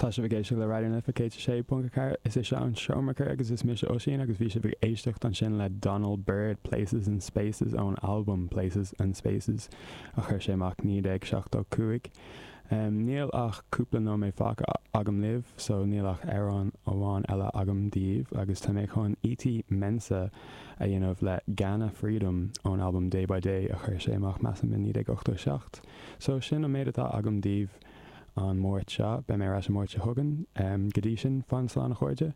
Tá sibh ag éisteacht le Raidió na Life 106.4, is é seo an Seomra Cré agus is mise Oisín agus bhí sibh ag éisteacht ansin le Donald Byrd, Places and Spaces ón albam Places and Spaces a chuir sé amach 1975. Níl ach cúpla nóiméad fágtha agam libh so níl ach amhrán amháin eile agam daoibh agus tá mé chun E.T. Mensah a dhéanamh le Ghana Freedom ón albam Day by Day a chuir sé amach measaim i 1987. So sin an méid atá agam daoibh an Máirt seo. Beidh mé ar ais an Máirt seo chugainn. Go dtí sin, fan slán a chairde.